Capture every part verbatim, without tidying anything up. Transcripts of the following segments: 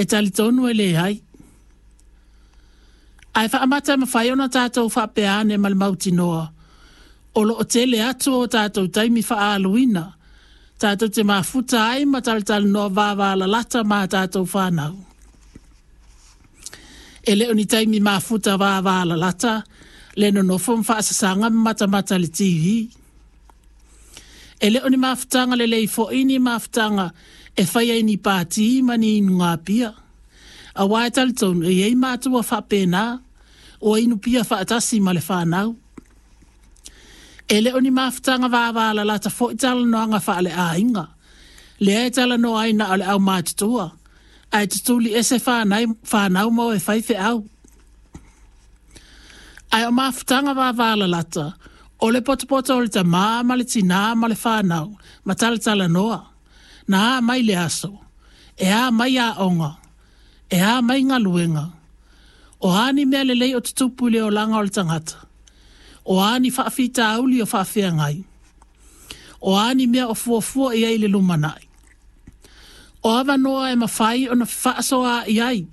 E talitonu e leai. Ae faamata e mafai ona tatou faapea ane ma le mautinoa, o loo tele atu o tatou taimi faaaluina, tatou te mafuta ai ma talatalanoa vavalalata ma tatou whanau. E le o ni taimi mafuta vavalalata, le nonofo ma faasasanga ma matamata le T V. E le o ni mafutanga lelei fo'i ni mafutanga e fai ai ni pāti ma ni inuga pia. Auā e talitonu e iai matua faapena, ua inu pia faatasi ma le whanau. E le o ni mafutanga vavalalata fo'i talanoaga faaleaiga, lea e talanoa ai na o le aumatutua, ae tutuli ese whanau, whanau ma o e fai feau. Ae o mafutanga vavalalata, o le potopoto o le tamā ma le tinā ma le whanau, ma talatalanoa, na a mai le aso, e a mai aoga, e a mai galuega. O a ni mea lelei o tutupu i le olaga o le tagata. O a ni faafitauli o faafeagai. O a ni mea o fuafua i ai le lumanai. O avanoa e mafai ona fefaasoa i ai,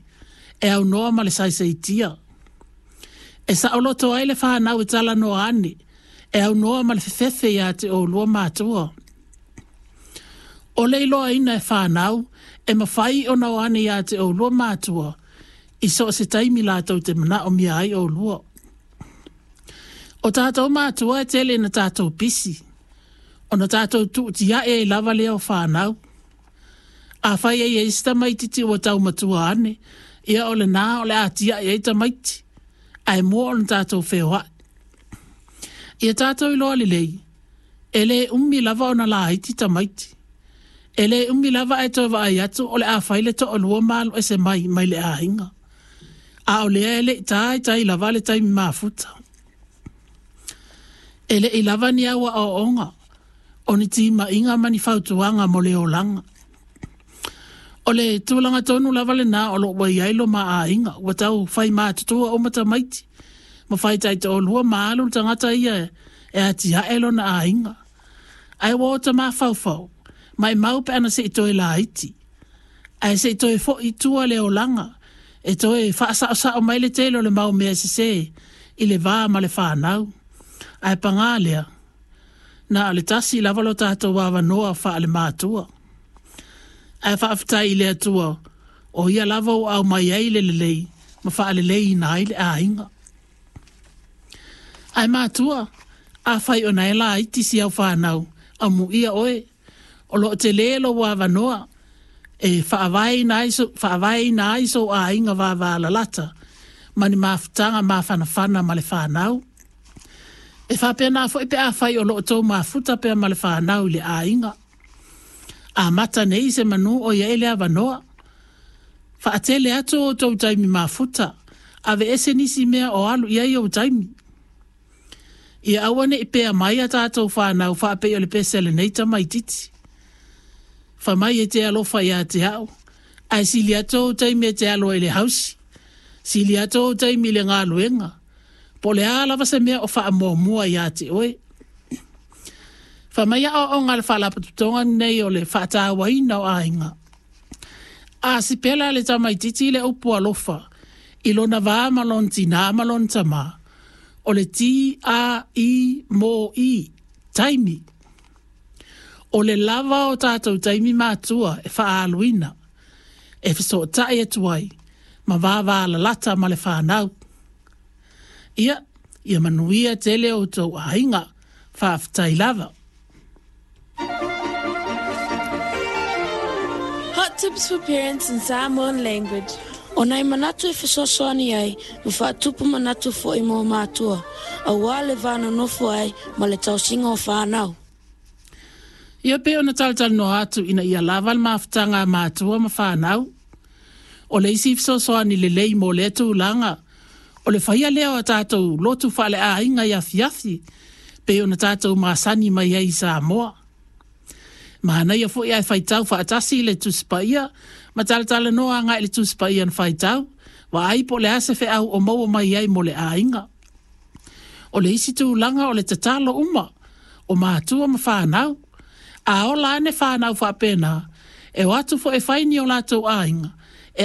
e aunoa ma le saisaitia. E saoloto ai le whanau e talanoa ane, e aunoa ma le fefefe ia te oulua matua. O le iloaina e whanau, e mafai ona o ane ia te oulua matua, i so o se taimi latou te manaomia ai oulua. O tatou matua e tele na tatou pisi, ona tatou tuutiae ai lava lea o whanau. A whai ai e isi tamaititi ua taumatua ane, ia o le nā o le atiae ai tamaiti, ae mua ona tatou feoai. Ia tatou iloa lelei, e le umi lava ona laiti tamaiti. E le umi lava e toe vaai atu o le a fai le to'alua ma alu ese mai mai le aiga. A o lea e le i taitai lava le taimi mafuta. E le i lava ni au aoaoga, o ni timaiga ma ni fautuaga mo le olaga. O le tulaga tonu lava lenā o loo ua iai lo maaiga, ua tau fai matutua uma tamaiti, ma fai taitoalua ma alu le tagata ia e atiae lona aiga. Ae ua ota mafaufau, maimau pe ana sei toe laiti. Ae sei toe fo'i i tua le olaga, e toe faasaosao mai le tele o le mau mea sesē i le va ma le whanau. Ae pagā lea, na o le tasi lava lo tatou avanoa faale matua. Ae faafetai i le Atua, o ia lava ua aumai ai le lelei ma faaleleina ai le aiga. Ae matua, afai ona e laiti si au whanau, amuia oe, o loo tele lou avanoa, e faavaeina ai so, faavaeina ai sou aiga vavalalata, ma ni mafutaga mafanafana ma le whanau. E faapena fo'i pe afai o loo tou mafuta pea ma le whanau i le aiga. Amata nei se manu o ia i le avanoa. Faatele atu o tou taimi mafuta, aveese nisi mea o alu i ai ou taimi. Ia aua nei pea mai a tatou whanau faapei o le pese a lenei tamaititi. Fai mai e te alofa ia te au, ae sili atu ou taimi e te alo ai i le hausi, sili atu ou taimi i le galuega, po o le a lava se mea o faamuamua ia te oe. Fai mai aoaoga a le faalapotopotoga lenei o le faatauaina o aiga. A sipela le tamaititi i le upu alofa, i lona va ma lona tinā ma lona tamā, o le T A I M I, taimi. O le lava o tatou taimi matua e faaaluina, e fesootai atu ai, ma vavalalata ma le whanau. Ia, ia manuia tele o tou aiga, faafetai lava. Hot tips for parents in Samoan language. O nai manatu e fesoasoani ai, ma faatupu manatu fo'i mo matua, auā le va nonofo ai ma le tausiga o whanau. Ia pe ona talatalanoa atu ina ia lava le mafutaga a matua ma whanau. O le isi fesoasoani lelei mo lea tulaga, o le faia lea o a tatou lotu faaleaiga i afiafi, pe ona tatou masani mai ai i Samoa. Manaia fo'i ae faitau faatasi i le Tusi Paia, ma talatalanoa agai i le Tusi Paia na faitau, vaai po o le a se feau o maua mai ai mo le aiga. O le isi tulaga o le tatalo uma, o matua ma whanau. A ola ane whanau faapena, e o atu fo'i e fai ni o latou aiga,